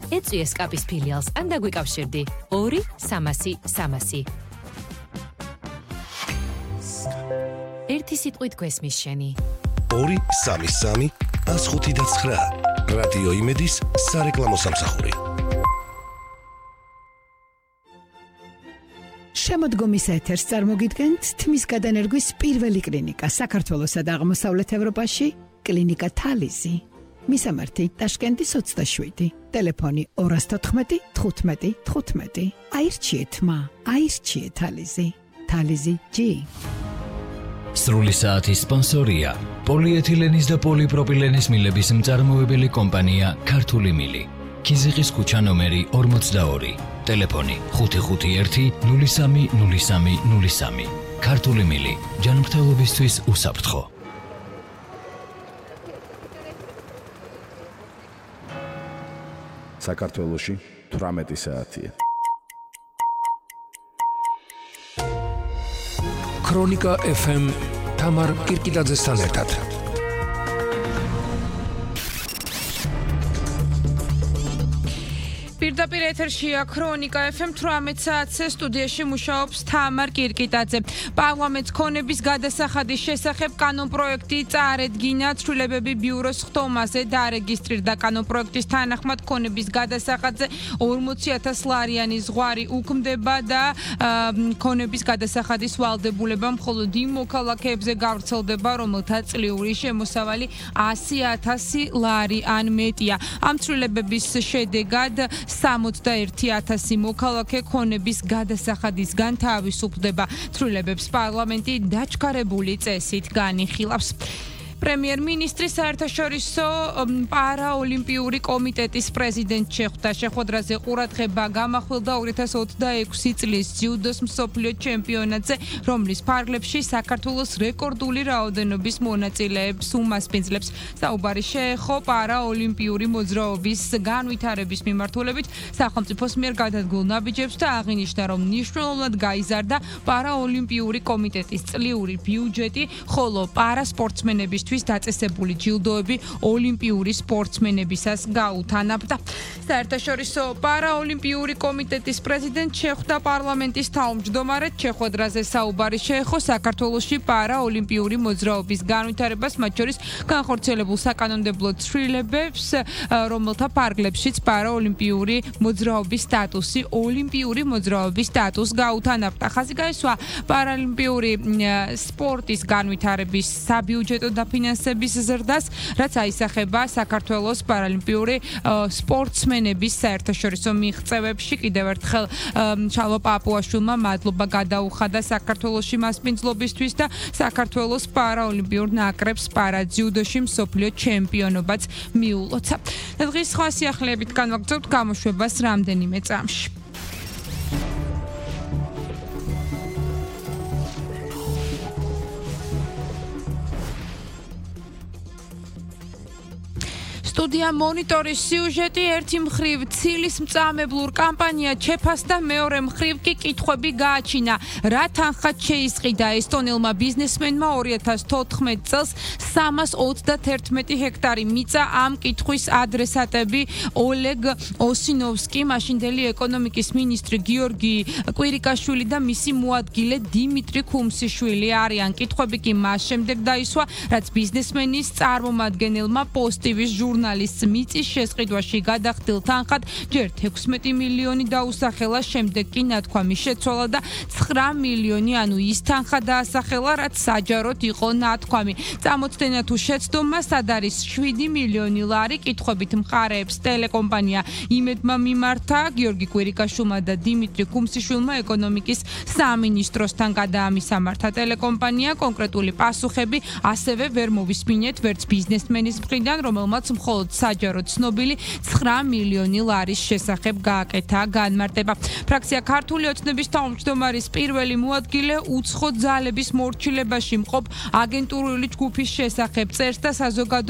ეწვიეს კაპის ფილიალს ან დაგვიკავშირდი 2-300-300. ერთი სიტყვით გვესმის შენი. 2-3-3-105-9 რადიო იმედის სარეკლამო სამსახური. შემოდგომის ეთერს წარმოგიდგენთ თმის გადანერგვის პირველი კლინიკა საქართველოსა და აღმოსავლეთ ევროპაში, კლინიკა თალიზი. მისამართი ტაშკენტის 27, ტელეფონი 214 15 15. აირჩიეთ მა, აირჩიეთ თალიზი. თალიზი G. სრული საათის სპონსორია პოლიეთილენის და პოლიპროპილენის მილების მწარმოებელი კომპანია ქართული მილი. ქიზიყის ქუჩა ნომერი 42, ტელეფონი 551 03 03 03. ქართული მილი, ჯანმრთელობისთვის უსაფრთხო. საქართველოში 18 საათია. ქრონიკა FM თამარ კირკიტაძესთან ერთად. პირდაპირ ეთერშია ქრონიკა FM 18 საათზე სტუდიაში მუშაობს თამარ კირკიტაძე. პარლამენტს ქონების გადასახადის შესახებ კანონპროექტი წარედგინა ცვლილებები ბიუროს ხტომაზე დარეგისტრირდა. კანონპროექტის თანახმად ქონების გადასახადზე 40,000 ლარიანი ზღვარი უქმდება და ქონების გადასახადის ვალდებულება მხოლოდ იმ მოქალაქეებზე გავრცელდება, რომელთა წლიური შემოსავალი 100,000 ლარი ან მეტია. ამ ცვლილებების შედეგად 61,000 მოქალაქე ქონების გადასახადისგან თავისუფლდება. ცვლილებებს პარლამენტი დაჩქარებული წესით განიხილავს. პრემიერ-მინისტრი საერთაშორისო პარაოლიმპიური კომიტეტის პრეზიდენტ შეხვდა. შეხვედრაზე ყურადღება გამახვილდა 2026 წლის ძიუდოს მსოფლიო ჩემპიონატზე, რომლის ფარგლებში საქართველოს რეკორდული რაოდენობის მონაწილეებს უმასპინძლებს. საუბარი შეეხო პარაოლიმპიური მოძრაობის განვითარების მიმართულებით სახელმწიფოს მიერ გადადგმულ ნაბიჯებს და აღინიშნა, რომ მნიშვნელოვნად გაიზარდა პარაოლიმპიური კომიტეტის წლიური ბიუჯეტი, ხოლო პარასპორტსმენების დაწესებული ჯილდოები ოლიმპიური სპორტსმენებისას გაუთანაბდა. საერთაშორისო პარაოლიმპიური კომიტეტის პრეზიდენტ შეხვდა პარლამენტის თავმჯდომარედ. შეხვედრაზე საუბარი შეეხო საქართველოში პარაოლიმპიური მოძრაობის განვითარებას, მათ შორის განხორციელებულ საკანონმდებლო ცვლილებებს, რომელთა ფარგლებშიც პარაოლიმპიური მოძრაობის სტატუსი, ოლიმპიური მოძრაობის სტატუსს გაუთანაბდა. ხაზი გაესვა პარაოლიმპიური სპორტის განვითარების საბიუჯეტო ფინანსების ზრდას, რაც აისახება საქართველოს პარალიმპიური სპორტსმენების საერთაშორისო მიღწევებში. კიდევ ერთხელ ჩალვა პაპუაშვილმა მადლობა გადაუხადა საქართველოში მასპინძლობისთვის და საქართველოს პარაოლიმპიურ ნაკრებს პარაძიუდოში მსოფლიო ჩემპიონობაც მიულოცა. დღის სხვა სიახლეებით განვაგრძობთ გამოშვებას რამდენიმე წამში. სტუდია მონიტორის სიუჟეტი. ერთი მხრივ ცილის მწამებლურ კამპანია ჩეფასდა, მეორე მხრივ კი კითხვები გააჩინა. რა თანხად შეისყიდა ესტონელმა ბიზნესმენმა 2014 წელს 321 ჰექტარი მიწა? ამ კითხვის ადრესატები ოლეგ ოსინოვსკი, მაშინდელი ეკონომიკის მინისტრი გიორგი კვირიკაშვილი და მისი მოადგილე დიმიტრი ქუმსიშვილი არიან. კითხვები კი მას შემდეგ დაისვა, რაც ბიზნესმენის წარმომადგენელმა პოსტივის ჟურნალისტს მიწის შესყიდვაში გადახდილ თანხად ჯერ 16 მილიონი დაუსახელა, შემდეგ კი ნათქვამი შეცვალა და 9 მილიონი, ანუ ის თანხა დაასახელა, რაც საჯაროდ იყო ნათქვამი. წამოწდენა თუ შეცდომა, სად არის 7 მილიონი ლარი? კითხვებით მხარეებს ტელეკომპანია იმედმა მიმართა. გიორგი კვირიკაშვილმა და დიმიტრი ქუმსიშვილმა ეკონომიკის სამინისტროსთან გადაამისამართა ტელეკომპანია. კონკრეტული პასუხები ასევე ვერ მოვისმინეთ ვერც ბიზნესმენის მხრიდან, რომელმაც მხოლოდ საჯაროდ ცნობილი 9 მილიონი ლარის შესახებ გააკეთა განმარტება. ფრაქცია ქართული ოცნების თავმჯდომარის პირველი მოადგილე უცხო ძალების მორჩილებაში მყოფ აგენტურული ჯგუფის შესახებ წერს და საზოგადო